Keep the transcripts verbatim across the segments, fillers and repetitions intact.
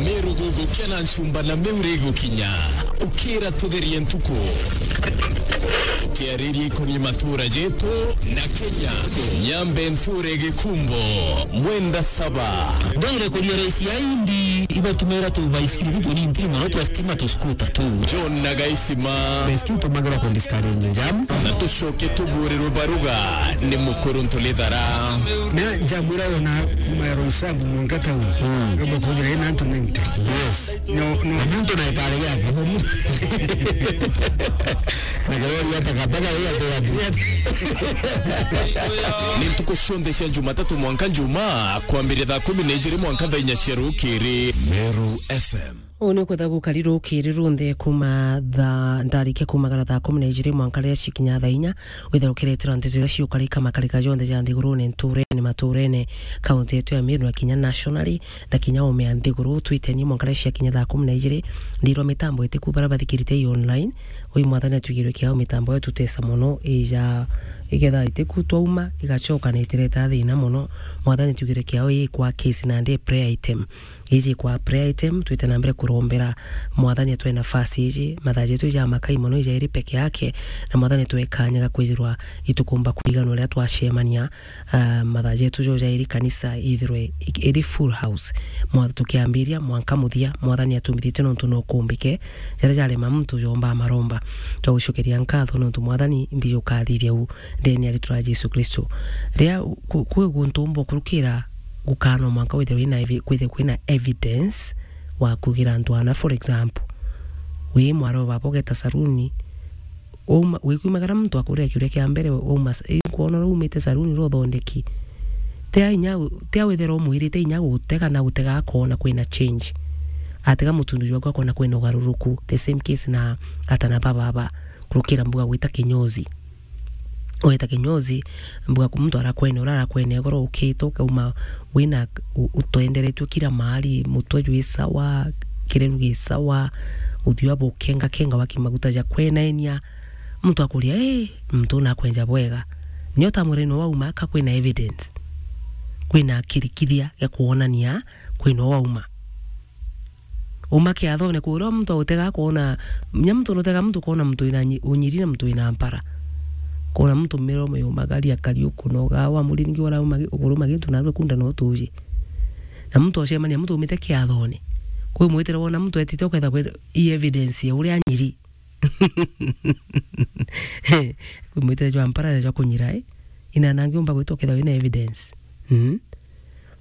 Meru gugukia na ncumba na miuri gukinya. Ukira tutherie ntuku. Tukiariria ikonie matura jetu na Kenya. Nyambe nture gikumbo. Mwenda saba. Ndore kuria raisi ya indi ibatumira tu baisikiri tu ni ntiri mono twa stima tu skuta tu. John na Gaisima. Baisikiri tumagira ku discourage jam. Na tucoke tuburirwe baruga ni mukuru ntulithara. Na njamwira ona kuma ya Roysambu mwanka town. Mm. Ngomba kuthira ina antu ninety. Yes. No, no. Na muntu na ikari yake. Na kirori ya takataka hiyo tu ya. Ni ntuku cionthe cia Jumatatu mwanka Jumaa, kwambiria thaa kumi na ijiri mwanka thaa inya cia rukiri. Meru F M. Uu ni kwetha gukari rukiri runthe kuma thaa, ndarikia kumagara thaa kumi na ijiri mwanka riria cikinya thaa inya, withe ukiretera nteto iria ciukarika makarika jonthe ja nthigurune, nturene, maturene, kaunti yetu ya Meru na kinya nationally, na kinya ume ya nthiguru, twiteni mwanka riria ciakinya thaa kumi na ijiri, ndirwa mitambo itiku baria bathikirite i online, ui mwathani atwigirwe kiao mitambo yo tutesa mono, ija, iketha itiku twauma, igacoka na itireta thina mono, mwathani atwigirwe kiao i kwa case na ndi prayer item. Iji kwa prayer item, twite na mbere kurombera mwathani atwe nafasi iji, mathaa jetu ija makai mono ija iri peke yake, na mwathani twe kanya ga kwithirwa itukumba kuiganwa riria twacemania, ah, mathaa jetu jo jairi kanisa ithirwe ik-, iri full house. Mwa-, tukiambiria mwanka muthia, mwathani atumithitie nontu no kumbike, jaria jarema muntu jomba maromba. Twagucokeria nkatho nontu mwathani mbiji ukathithia u ndeni ya ritwa ria Jesu Kristo. Riria ku-, kwi guntu umba ukurukira gukano mwanka withirwe wina evi-, kwithirwe kwina evidence wa kugira antu ana, for example, wi mwaro baba ugeta saruni, Wauma, wikumagara muntu akuria kiuria kia mbere, wauma s-, i nkwona uria umite saruni ro uthondeki. Tia inya gu-, tia withira umwirite inya gutega na gutega akona kwina change. Atega mutundu jwaku akona kwina ugaruruku. The same case na atana ba baba. Kurukira mbuga gwita kinyozi. Weta kinyozi, mbuga ku muntu arakwene, uria arakwene igoro ukite, ukauma wina u-, utwenderetue kila mahali, mutwe jwi sawa, kireru gi sawa, uthiu abukenga kenga wa kimaguta ja kwenaenia. Muntu akuria, "Ii, muntu una akwenja bwega." Nio ta mureno wauma ka kwina evidence. Kwina kirikithia gia kwonania kwina wauma. Uma kiathone kuria muntu autega kwona, nya muntu nutega muntu kwona muntu wina nyi-, unyiri na muntu wina mpara. Kwona muntu miromo yumagaria kariuku noga wa muri ningi wara umagi-, uguru magintu na kunda no tuji. Na muntu ocemania muntu umite kiathone. Kwi mwitire wona muntu etite uketha kwi i evidence ya uria anyiri. Kumwitire jwa mpara na jwa kunyira, eh? Ina nangi umba gwita ukethirwa wina evidence. Mm.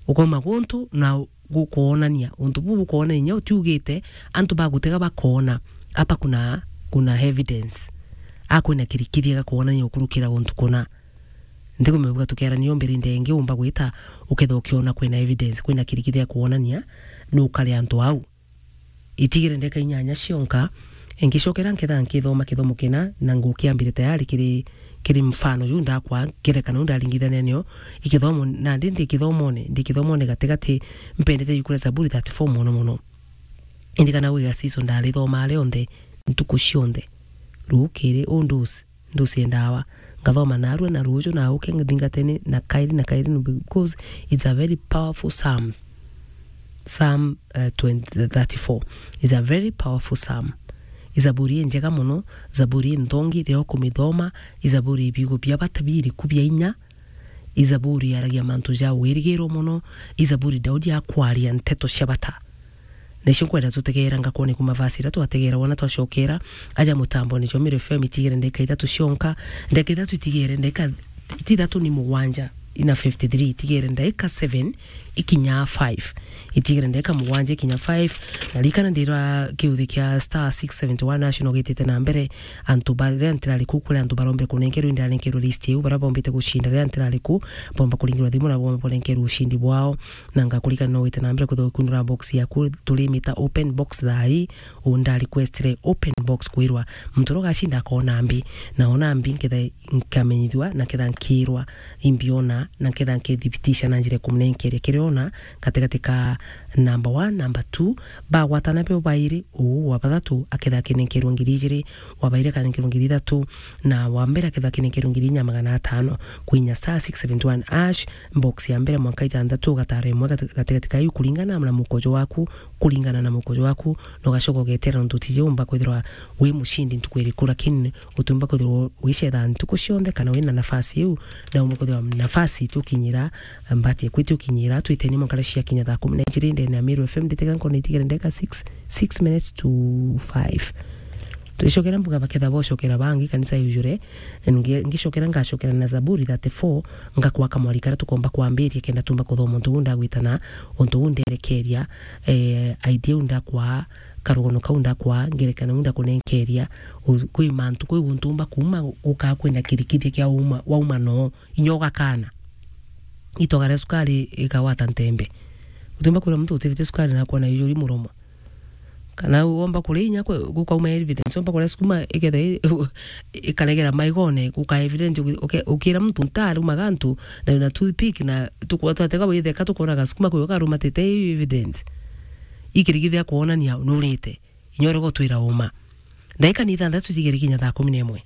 Ukauma guntu na u-, gukwonania. Untu buu bukwonania inya utiugite, antu bagutega bakona. Apa kuna, kuna evidence. A kwina kirikithia gakwonania ukurukira guntu kuna. Ntikumenya buga tukerania umbiri ndenge umba gwita ukethirwa ukiona kwina evidence, kwina kirikithia kwonania nukari antu au. Itigire ndeka inyanya cionka, ngicokera nketha nkithoma kithomo kina, na ngukiambire tayari kiri, kiri mfano juu ndakwa, ngerekano ndaringithania nio, ikithomo, nandi ndi kithomone, ndi kithomone gatigati, mpendete jukura Zaburi thirty-four mono mono. Indi kana gwi gacico ndarithoma rionthe, ntuku cionthe, rukiri, undusi, ndusie ndawa. Ngathoma narua na ruuju na uke ngithingatene na kairi na kairi, no, because it's a very powerful psalm. Psalm, uh, twenty, thirty-four is a very powerful psalm. I zaburi injega mono, zaburi inthongi riria ukumithoma, i zaburi ibiugo bia bata biriku bia inya, i zaburi yaragia mantu ja wirigiro mono, i zaburi Daudi akwaria nteto cia bata. Nicio nkwenda tutegeera ngakone kuma verse iria twategeera wona twacokera aja mutambone jwa Meru F M itigere ndeka ithatu cionka, ndeka ithatu itigere ndeka ti ithatu ni mugwanja, ina fifty-three itigere ndeka seven ikinya five. Itigere ndeka mugwanja ikinya five. Na rikana ndira kiuthi kia star six seventy-one hash no gitite na mbere, antu baria ntirari ku kuri antu barombire kunenkerwa, indarenkerwa list iu, baria bombite gucinda riria ntirari ku, bomba kuringirwa thimu na bomba kurenkerwa ucindi bwao. Na ngakurikana no wite na mbere kwithirwa ukiunura box yaku, turimita open box thaa ii, unda requestire open box kwirwa muntu uria ugacinda akona mbi, na ona mbi nketha nkamenyithua, na ketha nkirwa imbiona, na ketha nkithibitisha na njira ikumunenkeria kiria Ona gatigati ka number one, number two, bagwatana bo bairi, uu wa bathatu akethira akinenkerwa ngiri ijiri, wa bairi akanenkerwa ngiri ithatu, na wa mbere akethira akinenkerwa ngiri inya magana atano. Kwinya star six seventy one hash, box ya mbere mwanka ithanthatu, ugatara imwe gati-, gatigati ka iu kuringana na mukojo waku, kuringana na mukojo waku, na ugacoka ugetera nontu utiji umba kwithirwa wi mucindi ntuku iriku, lakini utiumba kwithirwa wicetha ntuku cionthe kana wina nafasi iu, na umba kwithirwa nafasi itukinyira, mbati eku itukinyira, twiteni mwankara ciakinya thaa kumi na ijiri ndene ya Meru F M, nditegera nkona itigere ndeka six, six minutes to five. Twicokera mbuga baketha bocokera bangi kanisa yujure, ngi-, ngicokera ngacokera na Zaburi thirty-four, ngakwa kamwari karia tukomba kwambiria kenda tumba kuthoma untu uu ndagwitana, untu uu nderekeria, eh, idea iu ndakwa, karugono kau ndakwa, ngerekano iu ndakunenkeria, u-, kwi mantu, kwi guntu umba kuuma gukaa kwina kirikithia kia uma, wauma noo, inya ugakana. Itoga ria sukari ikagwata ntembe. Utiumba kwira muntu utirite sukari na akona ijuri muromo. Kana womba kuria inya kwe-, gukauma evidence, womba kuria sukuma iketha i-, ikaregera maigone, guka evidence, uki-, uki-, ukira muntu ntarumaga antu, na wina toothpick, na tukwa twatega witheka tukonaga sukuma kwe ukarumatite i evidence. Ikirigithia kuonania nurite. Inya urega utwira uma. Ndaika ni ithanthatu tigere kinya thaa kumi na imwe.